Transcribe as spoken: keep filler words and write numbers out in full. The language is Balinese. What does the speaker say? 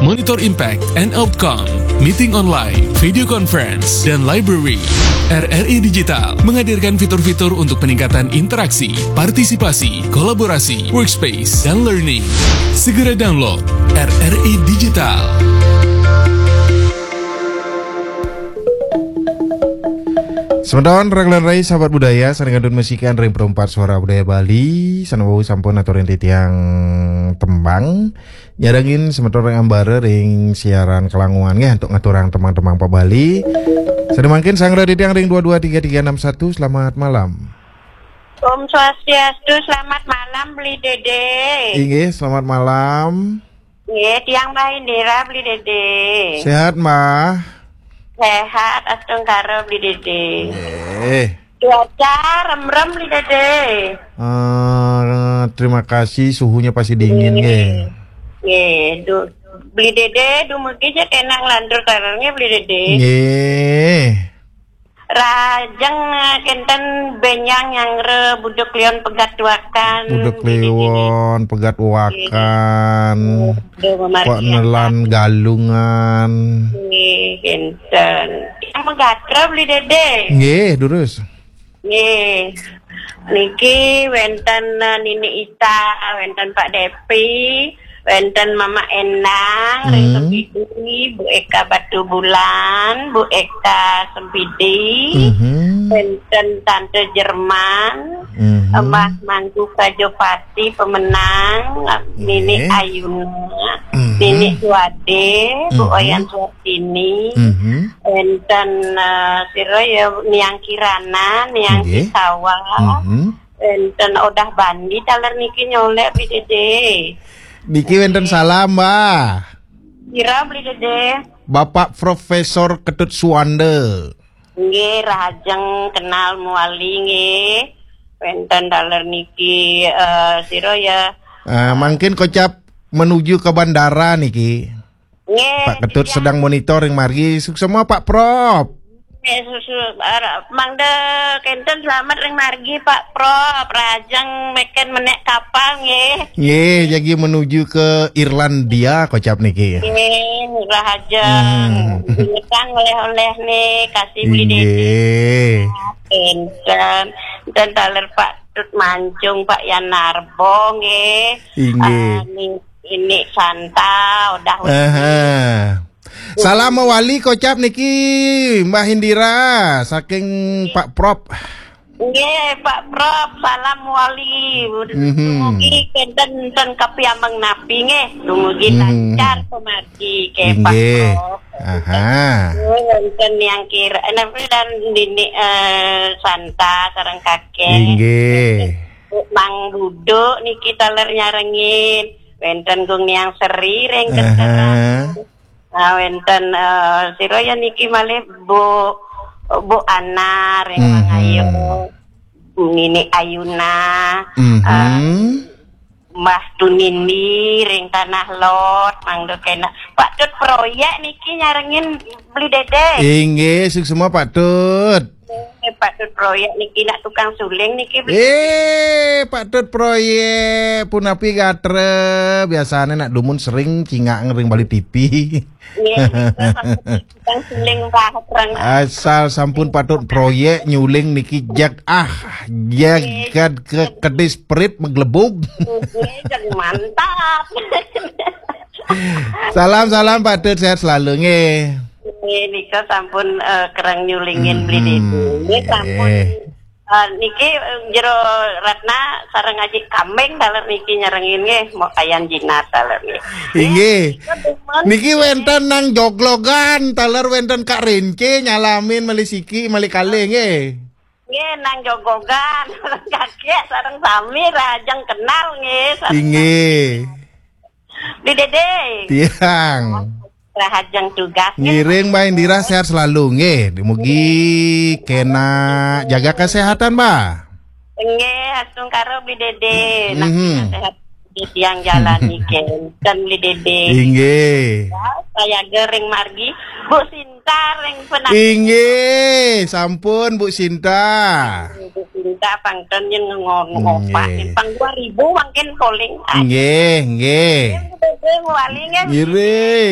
Monitor impact and outcome, meeting online, video conference, dan library. R R I Digital menghadirkan fitur-fitur untuk peningkatan interaksi, partisipasi, kolaborasi, workspace, dan learning. Segera download R R I Digital. Semeton rekan rai sahabat budaya, sané kantun masikan ring Perempat Suara Budaya Bali, sané wau sampun aturin titiang tembang. Nyarengin semeton ring ambara ring siaran kalanguan nggih, antuk ngaturang tembang-tembang Pak Bali. Sané mangkin sangra titiang ring dua dua tiga tiga enam satu, selamat malam. Om Swastiastu, selamat malam Beli Dede. Inggih, selamat malam. Nggih, tiang Mbah Indira Beli Dede. Sehat, Mbah? Sehat, astungkara Beli Dede. Nggih. Cuaca remrem Beli Dede. Eh, terima kasih, suhunya pasti dingin nggih. Nggih, du, Beli Dede dumugi ja kena nglantur taler nggih Beli Dede. Nggih. Rahajeng, eh, kenten benjang nyanggra Buda Kliwon pegat wakan. Buda Kliwon pegat wakan. Nggih. Pak Nelan Galungan. Nggih, kenten. Yang megatra Beli Dede. Nggih, durus. Nggih. Niki wenten, eh, Nini Ita, wenten Pak Depi, wenten Mama Endang, ring Sempidi, Bu Eka Batubulan, Bu Eka Sempidi, wenten Tante Jerman, Mbah Mangku Kajopati Pemenang, Nini Ayuna, Nini Suwade, Bu Oyan Suwartini, wenten, eh, sira ya Niang Kirana, Niang Kisawa, wenten Odah Bandi taler niki nyolek Beli Dede. Niki wenten salam, Mbah. Sira Beli Dede? Bapak Profesor Ketut Suwanda. Nggih, rahajeng kenal mawali nggih. Wenten taler niki, eh, sira ya. Eh, mangkin kocap menuju ke bandara niki. Nggih, Pak Ketut sedang monitor ring margi. Suksma Pak Prop. Nggih, susu, ara-, mangda kenten selamat ring margi Pak Prop. Rahajeng meken menek kapal nggih. Nggih, jagi menuju ke Irlandia kocap niki. Nggih, rahajeng. Ngetang oleh-oleh nih, kasih Beli Dede. Nggih. Kenten. Dan taler Pak Tut Mancung, Pak Yan Narbo nggih. Inggih. Ah, ni-, ini Santa, udah. Aha. Salam mawali kocap niki, Mbah Indira, saking Pak Prop. Nggih, Pak Prop, salam mawali. Dumugi kenten ten kapiambeng napi nggih. Dumugi lancar pemargi nggih, Pak Prop. Aha. Nggih, wenten yang kira, eh, napa dan dini, eh, Santa sareng kakek. Inggih. Mang Buduk niki taler nyarengin. Wenten Gung Niang Seri ring Kenteran. Nah, wenten, eh, sira ya niki malih Bu, Bu Ana ring Mangayo. Nini Ayuna. Eh, Mbah Tunini ring Tanah Lot, mangda kena. Pak Tut Proyek niki nyarengin Beli Dede. Inggih, suksma Pak Tut. Eh, Pak Tut Proyek niki nak tukang suling niki, Beli. Eh, Pak Tut Proyek, punapi gatra? Biasane nak dumun sering cingak ring Bali T V. Nggih, nggih, Pak Tut. Tukang suling, Pak, terang. Asal sampun Pak Tut Proyek nyuling niki jag, ah, jagat ke kedis perit meglebug. Nggih, jag mantap. Salam, salam Pak Tut, sehat selalu nggih. Nggih, nika sampun, eh, kereng nyulingin Beli Dede. Nggih, sampun. Eh, niki, eh, Jero Ratna sareng Aji Kambing taler niki nyarengin nggih, mau kayan jinak taler nggih. Inggih. Niki wenten nang joglogan, taler wenten Kak Rince nyalamin malih siki, malih kalih nggih. Nggih, nang joglogan, kakek sareng sami rahajeng kenal nggih. Inggih. Beli Dede. Tiang. Rahajeng tugas. Ngiring Mbah Indira sehat selalu nggih. Mugi kena jaga kesehatan, Mbah. Nggih, astungkara Beli Dede. Nah, sehat di tiang jalani kenten Beli Dede. Inggih. Ya, saya gering margi. Bu Sinta ring Penang. Inggih, sampun Bu Sinta. Bu Sinta pangten yen ngo-, ngopak. Nggih. Pang dua ribu mangkin calling. Nggih, nggih. Nggih, Bu Dede, mawali nggih. Ngiring.